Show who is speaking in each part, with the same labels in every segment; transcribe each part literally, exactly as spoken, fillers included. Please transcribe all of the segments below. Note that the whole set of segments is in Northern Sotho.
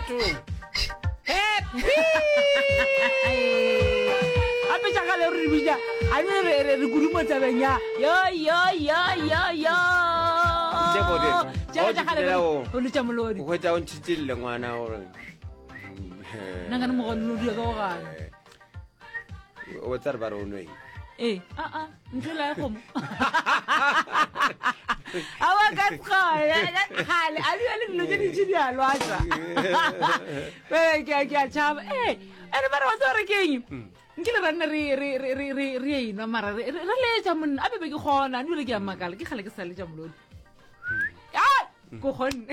Speaker 1: Batho. Happy.
Speaker 2: Gape tša kgale re di bitša a ne re re re kudu mo tabeng ya yo yo yo yo yo.
Speaker 1: Tše bode.
Speaker 2: Tša
Speaker 1: O
Speaker 2: tša kgale
Speaker 1: di
Speaker 2: re
Speaker 1: o.
Speaker 2: o letša molodi.
Speaker 1: O hwetša o ntšhitšille ngwana gore.
Speaker 2: Nna nkane mogolo o dula ka go gana.
Speaker 1: O tsa re ba re o nweng.
Speaker 2: Ee, a a ntho la ya kgomo. Awa ka kgale kgale a dula le dilo tše dintši di a lwatša. Ee, ke a ke a tšhaba. Ee, ene mara wa tseba gore ke eng? Nkile ra nna re re re re re re enwa mara re re re letša monna a bebe ke kgona ebile ke a makala ke kgale ke sa letša molodi. Ah! Ko kgonne.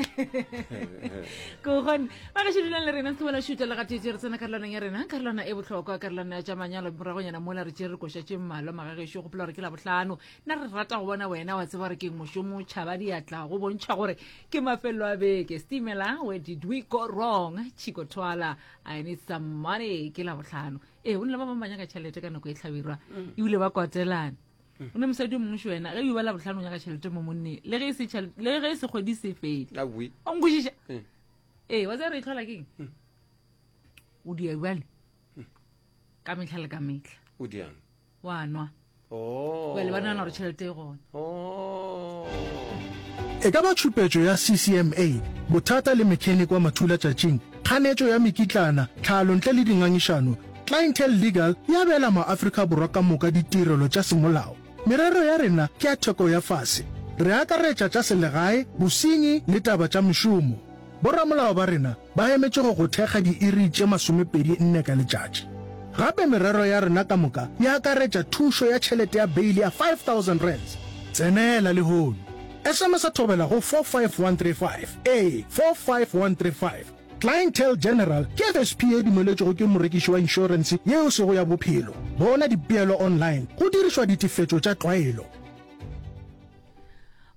Speaker 2: Ko kgonne. Ba gešo dulang le rena se bona šuta le gatete re tsena karolwaneng ya rena karolwana e bohlokwa karolwana ya tša manyalo moragonyana mola re tšere re koša tše mmalwa magagešo gopola gore ke la bohlano nna re rata go bona wena wa tseba gore ke mošomo tšhaba diatla go bontšha gore ke mafelo a beke stimela where did we go wrong Chico Twala I need some money ke la bohlano ee o ne le ba bangwe ba nyaka tšhelete ka nako e tlhabirwa ebile ba kwatelane o ne mosadi o mongwe še wena ge o ba la bohlano o nyaka tšhelete mo monneng le ge e se tšhelete- le ge e se kgwedi se fele
Speaker 1: Awi.
Speaker 2: o nkwešiša
Speaker 1: Mm.
Speaker 2: ee wa tseba re e tlhola keng o dia bjale ka mehla le ka mehla
Speaker 1: O diang.
Speaker 2: wa nwa
Speaker 1: Oh.
Speaker 2: bjale ba nagana gore tšhelete e gona
Speaker 1: Oh.
Speaker 3: E ka ba tšhupetšo ya C C M A, bothata le mechanic wa mathulatšatšing, kganetšo ya mekitlana, tlhalo ntle le dingangišano, Clientele Legal e abela maAfrika Borwa ka moka ditirelo tša semolao. Merero ya rena ke ya theko ya fase. Re akaretša tša selegae, bosenyi le taba tša mešomo. Boramolao ba rena ba emetše go go thekga diiri tše masomepedi nne ka letšatši. Gape merero ya rena ka moka e akaretša thušo ya tšhelete ya beile ya five thousand rands. Tsenela lehono. S M S thobela go four five one three five. Ee, four five one three five. Clientele General ke F S P e dumeletšwego ke morekiši wa inšorense yeo sego ya bophelo. Bona dipeelo online go dirišwa ditefetšo tša tlwaelo.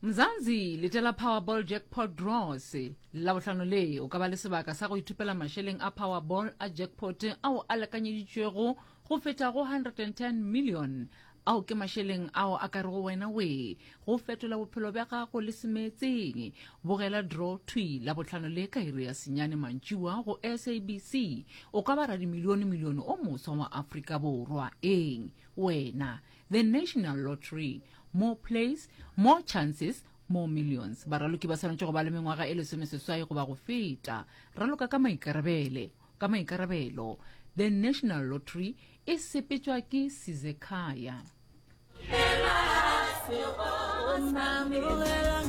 Speaker 2: Mzansi letela Powerball jackpot draws Labohlano le o ka ba le sebaka sa go ithupela mašeleng a Powerball a jackpot ao a lekanyeditšwego go feta go one hundred and ten million. Ao ke mašeleng ao a ka rego wena we go fetola bophelo bja gago le semeetseng. Bogela draw thwi Labohlano le ka iri ya senyane mantšiwa go S A B C. O ka ba radimilione milione o moswa wa Afrika Borwa. Eng wena? The National Lottery, more plays, more chances, more millions. Baraloki ba swanetše go ba le mengwaga e lesomeseswai goba go feta. Raloka ka maikarabele ka maikarabelo. The National Lottery e sepetšwa ke Sizekhaya.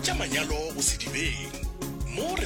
Speaker 4: Tša manyalo go sedibeng mo re